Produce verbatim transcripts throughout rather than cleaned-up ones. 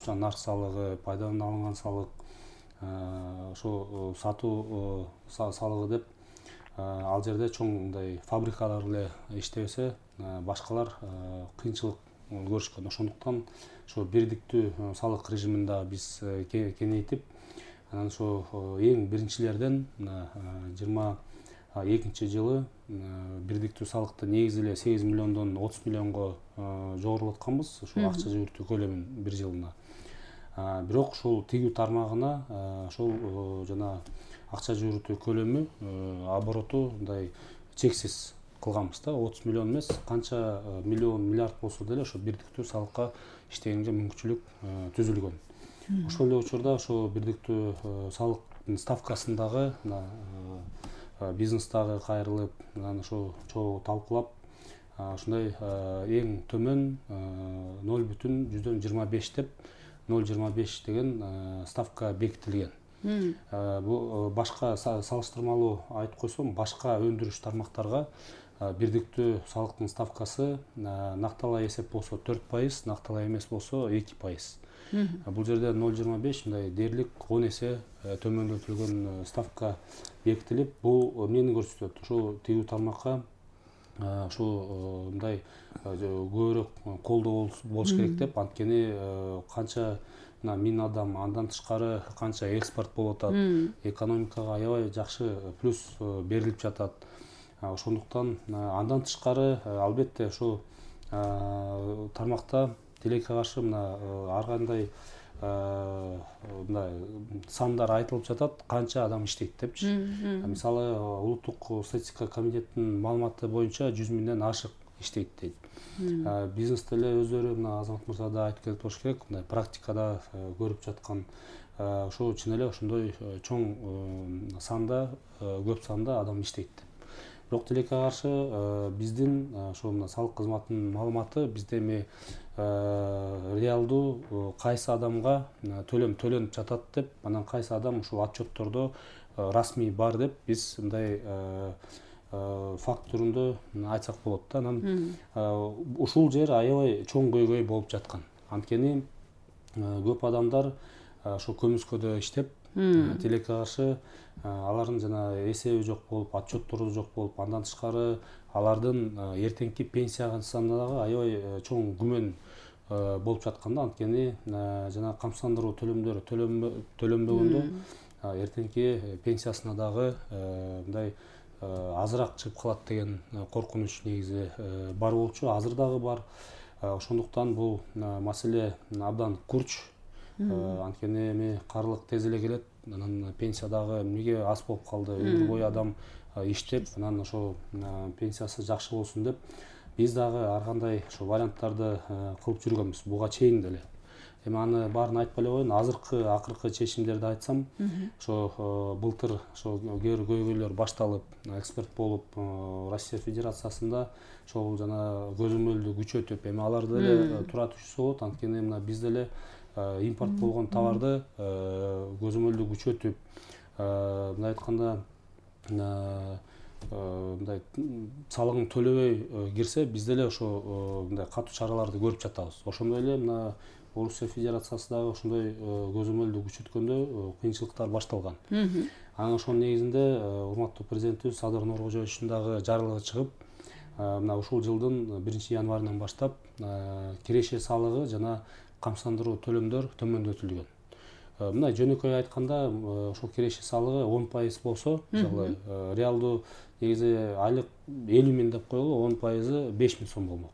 кошумча нарк салыгы, пайдадан алынган салык, ошо сатуу салыгы деп ал жерде чоң мындай фабрикалар эле иштебесе, башкалар кыйынчылык көрүшкөн. Ошондуктан ошо бирдиктүү салык режимин да биз кеңейтип, анан ошо эң биринчилерден жыйырма экинчи жылы бирдиктүү салыкты негизи эле сегиз миллиондон отуз миллионго жогорулатканбыз, ушул акча жүгүртүү көлөмүн бир жылына. Бирок ушул тигүү тармагына ошол жана акча жүгүртүү көлөмү, обороту мындай чексиз кылганбыз да, отуз миллион эмес, канча миллион, миллиард болсо деле ошо бирдиктүү салыкка иштегенге мүмкүнчүлүк түзүлгөн. Ошол эле учурда ошо бирдиктүү салыктын ставкасындагы бизнестагы кайрылып, анан ошо чогуу талкуулап, ушундай эң төмөн ноль бүтүн жүздөн жыйырма беш деп, ноль жыйырма беш деген ставка бекитилген. Бул башка салыштырмалуу айтып койсом, башка өндүрүш тармактарга бирдиктүү салыктын ставкасы накталай эсеп болсо төрт пайыз, накталай эмес болсо эки пайыз. Бул жерде ноль жыйырма беш мындай дээрлик он эсе төмөндөтүлгөн ставка бекитилип, бул эмнени көрсөтөт? Ушул тигүү тармакка ушул мындай көбүрөөк колдоо болуш керек деп, анткени канча миң адам, андан тышкары канча экспорт болуп атат, экономикага аябай жакшы плюс берилип жатат. Ошондуктан андан тышкары албетте ошол тармакта тилекке каршы мына ар кандай мындай сандар айтылып жатат, канча адам иштейт депчи. Мисалы, улуттук статистика комитетинин маалыматы боюнча жүз миңден ашык иштейт дейт. Бизнесте эле өздөрү мына Азамат мырза да айтып кетип болуш керек, мындай практикада көрүп жаткан ошо чын эле ошондой чоң санда, көп санда адам иштейт деп. Бирок тилекке каршы биздин ошо мына салык кызматынын маалыматы бизде эми реалдуу кайсы адамга төлөм төлөнүп жатат деп, анан кайсы адам ушул отчеттордо расмий бар деп биз мындай факт түрүндө айтсак болот да. Анан ушул жер аябай чоң көйгөй болуп жаткан. Анткени көп адамдар ошо көмүскөдө иштеп, тилекке каршы алардын жана эсеби жок болуп, отчеттору жок болуп, андан тышкары алардын эртеңки пенсиясына дагы аябай чоң күмөн болуп жаткан да. Анткени жана камсыздандыруу төлөмдөрү төлөнбөгөндө эртеңки пенсиясына дагы мындай азыраак чыгып калат деген коркунуч негизи бар болчу, азыр дагы бар. Ошондуктан бул маселе абдан курч. Анткени эми карлык тез эле келет, анан пенсия дагы эмнеге аз болуп калды, өмүр бою адам иштеп, анан ошо пенсиясы жакшы болсун деп биз дагы ар кандай ошо варианттарды кылып жүргөнбүз буга чейин деле. Эми аны баарын айтпай эле коеюн, азыркы акыркы чечимдерди айтсам, ошо былтыр ошо кээ бир көйгөйлөр башталып, эксперт болуп, Россия Федерациясында ошол жана көзөмөлдү күчөтүп, эми аларды деле тура түшүрсө болот, анткени мына биз деле импорт болгон товарды көзөмөлдү күчөтүп, мындай айтканда мындай салыгын төлөбөй кирсе, биз деле ошо мындай катуу чараларды көрүп жатабыз. Ошондой эле мына Орусия Федерациясы дагы ошондой көзөмөлдү күчөткөндө кыйынчылыктар башталган. Анан ошонун негизинде урматтуу президентибиз Садыр Нуркожоевичтин дагы жарлыгы чыгып, мына ушул жылдын биринчи январынан баштап киреше салыгы жана камсыздандыруу төлөмдөр төмөндөтүлгөн. Мына жөнөкөй айтканда, ошол киреше салыгы он пайыз болсо, мисалы, реалдуу негизи айлык элүү миң деп коелу, он пайызы беш миң сом болмок.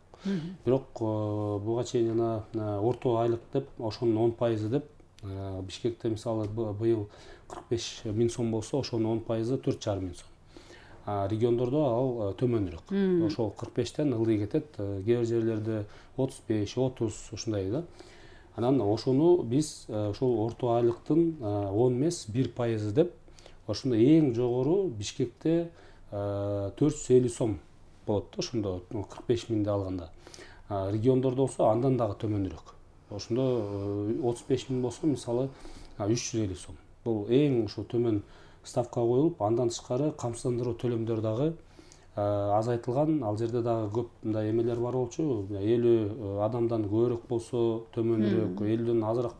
Бирок буга чейин жана орто айлык деп, ошонун он пайызы деп, Бишкекте мисалы быйыл кырк беш миң сом болсо, ошонун он пайызы төрт жарым миң сом. Региондордо ал төмөнүрөөк. Ошол кырк бештен ылдый кетет, кээ бир жерлерде отуз беш, отуз ушундай да. Анан ошону биз ошол орто айлыктын он эмес бир пайызы деп, ошондо эң жогору Бишкекте төрт жүз элүү сом болот да, ошондо кырк беш миңди алганда. Региондордо болсо андан дагы төмөнүрөөк. Ошондо отуз беш миң болсо, мисалы, үч жүз элүү сом. Бул эң ошо төмөн ставка коюлуп, андан тышкары камсыздандыруу төлөмдөр дагы азайтылган. Ал жерде дагы көп мындай эмелер бар болчу. элүү адамдан көбүрөөк болсо төмөнүрөөк, элүүдөн азыраак